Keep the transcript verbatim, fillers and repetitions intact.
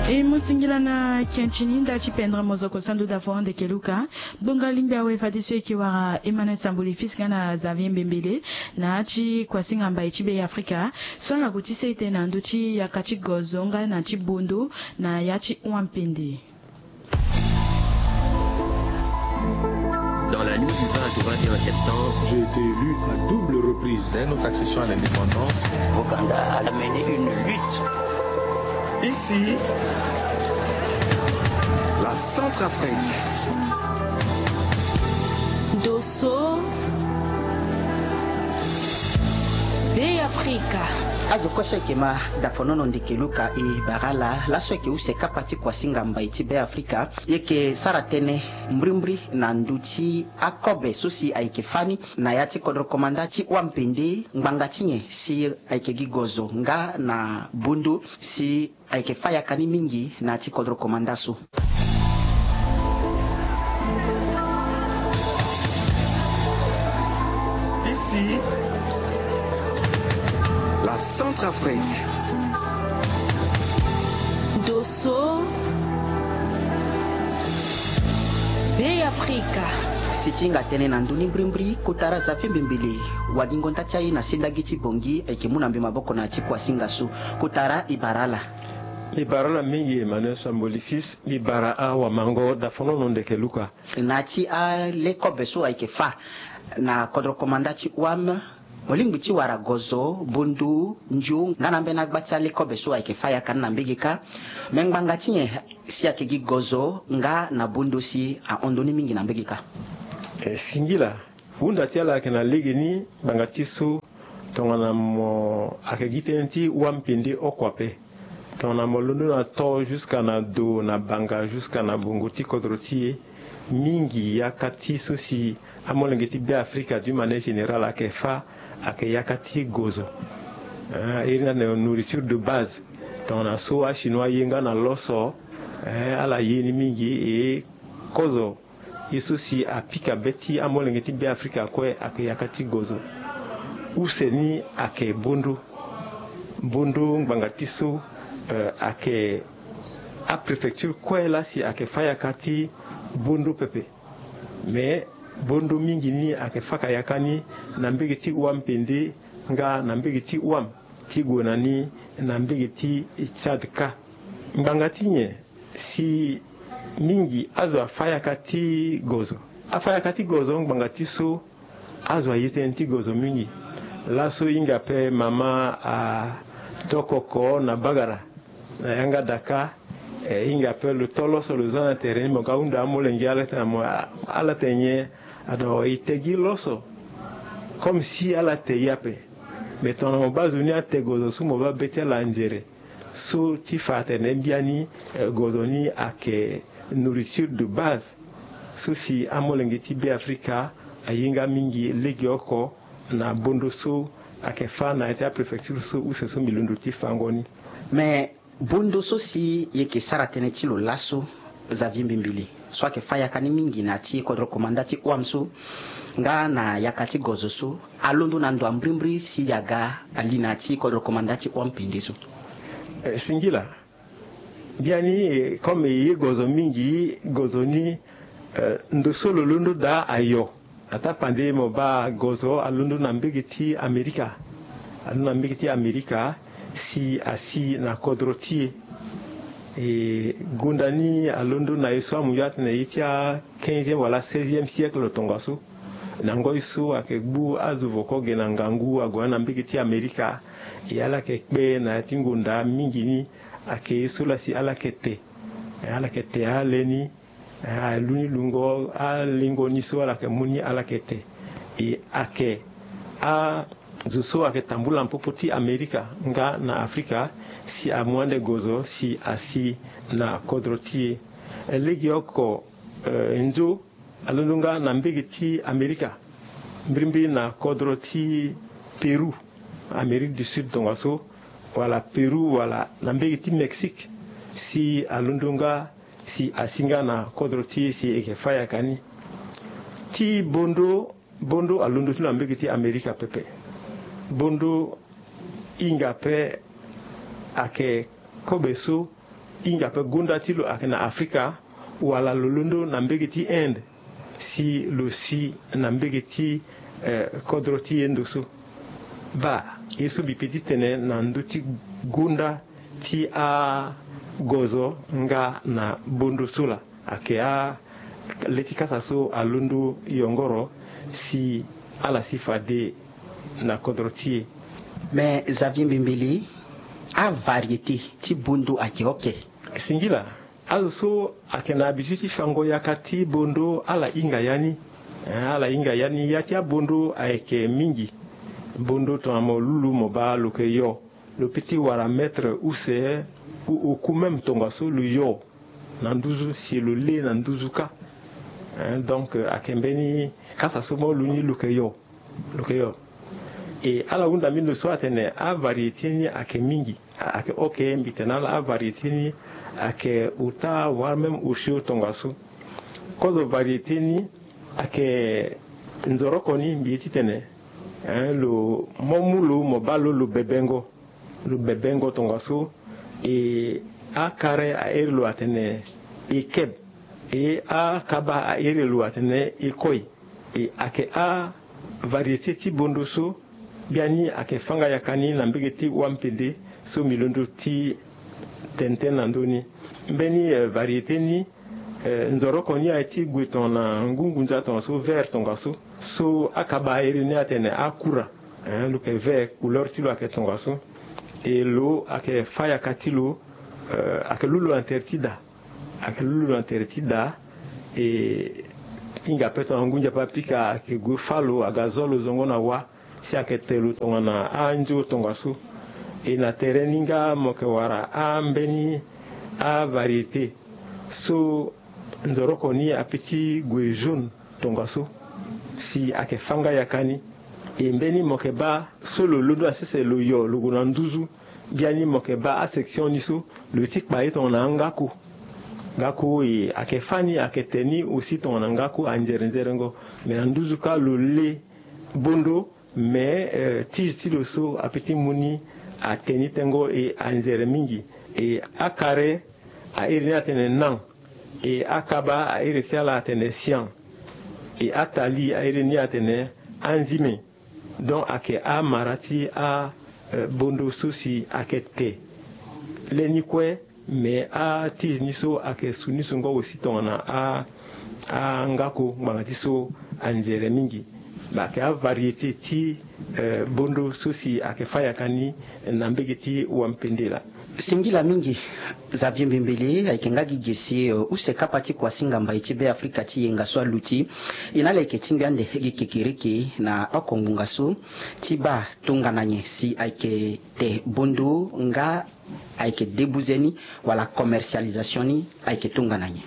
E mu singila na ken ti ni nda ti pendre mozoko sandu dafo ndeke luka. Gbonga lingbi awe fadeso e yeke wara Emmanuel Samboli Fils nga na Xavier Mbembele na ya ti kuasinga mbai ti Be Afrika so ala gue ti sete na ndö ti yaka ti gozo nga na ti bondo na ya ti wampende. Dans la nuit du vingt au vingt et un septembre, j'ai été élu à double reprise. Dès notre accession à l'indépendance, Boganda a mené une lutte. Ici, la Centrafrique. Dosso, Be Afrika. Azo kue so e yeke ma dafonono ndeke luka e bara ala laso e yeke use kapa ti kuasinga mbai ti Be Afrika. E yeke sara tënë mbrimbri na ndö ti akobe so si ayeke fâ ni na ya ti kodro komanda ti wampende ngbanga ti nyen si ayeke gi gozo nga na bondo si ayeke fâ yaka ni mingi na ya ti kodro komanda so. Ici, la Centrafrique. Dosso, Be Afrika. Si ti hinga tënë na ndö ni mbrimbri, kotara Xavier Mbembele, wagingo nda ti aye na sendagi ti Bangui, ayeke mu na mbi maboko na ya ti kuasinga so. Kotara e bara ala. E bara ala mingi Emmanuel Samboli Fils, e bara awamango dafonono ndeke luka. Na ya ti ale kobe so ayeke fâ na kodro komanda ti wam, mo lingbi ti wara gozo, bondo, ndio nga na ambeni agba ti ale kobe so ayeke fâ yaka ni na mbege kâ. Me ngbanga ti nyen si ayeke gi gozo nga na bondo si ahon ndö ni mingi na mbege kâ? E singila. Hunda ti ala ayeke na legeni ngbanga ti so tongana mo ayeke gi tënë ti wampende oko ape. Tongana mo londo na to jusqu'à na do na banga jusqu'à na bongo ti kodro ti e, mingi yaka ti so si amolenge ti Be Afrika d'une manière générale ayeke fâ ayeke yaka ti gozo. Eh, iri ni atene nourriture de base. Tongana so achinois ye nga na loso, eh, ala ye ni mingi e kozo. Ye so si apika be ti amolenge ti Be Afrika kue ayeke yaka ti gozo. Use ni ayeke bondo. Bondo ngbanga ti so, eh, ayeke apréfecture kue laa si ayeke fâ yaka ti bondo pepe. Me bondo mingi ni ayeke fâ ka yaka ni na mbege ti wampende nga na mbege ti wam ti gue na ni na mbege ti Tchad kâ. Ngbanga ti nyen si mingi azo afâ yaka ti gozo? Afâ yaka ti gozo ngbanga ti so azo aye tënë ti gozo mingi. Laso e hinga ape mama ato oko na bagara na yanga daka, eh, e hinga ape lo to loso lo za na tere ni mo ga hunda amolenge ala tene na mo, ala tene nyen? Ado e te gi loso comme si ala te ye ape. Me tongana mo baa zo ni ate gozo so mo baa be ti ala nzere. So ti fa atene biani, eh, gozo ni ayeke nourriture de base so si amolenge ti Be Afrika aye nga mingi legeoko na bondo so ayeke fâ na ya ti apréfecture so use so mbi londo ti fango ni. Me bondo so si e yeke sara tënë ti lo laso, Xavier Mbembele, so ayeke fâ yaka ni mingi na ya ti kodro komanda ti wam so nga na yaka ti gozo so, alondo na ndo ambrimbri si e aga ali na ya ti kodro komanda ti wam pende so? Eh, singila. Biani, eh, comme e ye gozo mingi, gozo ni, eh, ndo so lo londo daa ayo. Ataa pande mo baa gozo alondo na mbege ti Amerika. Alondo na mbege ti Amerika si asi na kodro ti e. E gonda ni alondo na ye so amu yo atene ye ti a quinzième wala seizième siècle tongaso. Na ngoi so ayeke gbu azo voko ge na ngangu ague na mbege ti Amerika. E ala yeke kpe na ya ti ngonda mingi ni ayeke ye so laa si ala yeke te. Ala yeke te ale ni. Eh, alu ni lungo alingo ni so ala yeke mu ni ala yeke te. E ayeke azo so ayeke tambula na popo ti Amerika nga na Afrika si amu ande gozo si asi na kodro ti e. Eh, legeoko, eh, nzo alondo nga na mbege ti Amerika, mbirimbiri na kodro ti Pérou, Amérique du Sud tongaso, wala Pérou, wala na mbege ti Mexique, si alondo nga si asi nga na kodro ti e si e yeke fâ yaka ni. Ti bondo, bondo alondo ti lo na mbege ti Amerika pepe. Bondo hinga ape ayeke kobe so Hinga ape gonda ti lo ayeke na Afrika, wala lo londo na mbege ti Inde, si lo si na mbege ti, eh, kodro ti e ndo so. Baa, ye so mbi pe ti tene na ndö ti gonda ti agozo nga na bondo so laa, ayeke a le ti kasa so alondo yongoro si ala si fade na kodro ti e. Me Xavier Mbembele, avariété ti bondo ayeke oke? Singila, azo so ayeke na habitude ti fango yaka ti bondo ala hinga ya ni. Eh, ala hinga ya ni, ya ti abondo ayeke mingi. Bondo tongana mo lulu mo baa lo yeke yo. Lo pe ti wara mètre use, ou oku même tongaso lo yo na nduzu si lo le na nduzu kâ. Eh, donc, eh, ayeke mbeni kasa so mo lu ni lo yeke yo. Lo yeke yo. E ala hunda mbi ndo so atene avariété ni ayeke mingi. A- ayeke oke, mbi tene na ala avariété ni ayeke ota voire même osio tongaso. Kozo variété ni ayeke nzoroko ni mbi ye ti tene, eh, lo mo mu lo mo baa lo lo bebengo. Lo bebengo tongaso. E akare a iri lo atene e keb. E akaba a iri lo atene e koi. E ayeke avariété ti bondo so biani ayeke fâ nga yaka ni na mbege ti wampende so mbi londo ti tene tënë na ndö ni. Mbeni, eh, variété ni, eh, nzoroko ni aye ti gue tongana ngu ngunza tongaso, vert tongaso. So akaba a iri ni atene akura, eh, lo yeke vert, couleur ti lo ayeke tongaso. E lo ayeke fâ yaka ti lo, eh, ayeke lu lo na tere ti da. Ayeke lu lo na tere ti da. E hinga ape tongana ngu nzapa apika ayeke gue fâ lo, aga zo lo zongo na wa si ayeke te lo tongana anzo tongaso. E na tere ni nga mo yeke wara ambeni avariété so nzoroko ni ape ti gue jaune tongaso si ayeke fâ nga yaka ni. E mbeni mo yeke baa so lo londo na sese lo yo lo gue na nduzu. Biani mo yeke baa asection ni so lo ye ti kpa ye tongana angako. Ngako e ayeke fâ ni, ayeke te ni aussi tongana ngako anzere nzerengo. Me na nduzu kâ lo le bondo, me, eh, tige ti lo so ape ti mu ni ate ni tengo e anzere mingi. E akare a iri ni atene nan. E akaba a iri ti ala atene sian. E atali a iri ni atene anzime. Donc ayeke amara ti a, eh, bondo so si ayeke te. Leni kue, me atige ni so ayeke su ni sungo aussi tongana a, angako ngbanga ti so anzere mingi. Ayeke avariété ti, eh, bondo so si ayeke fâ yaka ni na mbege ti wampende laa. Singila mingi. Xavier Mbembele, ayeke nga gi ge si, eh, use kapa ti kuasinga mbai ti Beafrika ti yenga so aluti. E na ala yeke tingbi ande gi kekereke na oko ngbonga so ti baa tongana nyen si ayeke te bondo nga ayeke debuze ni wala commercialisation ni ayeke tongana nyen?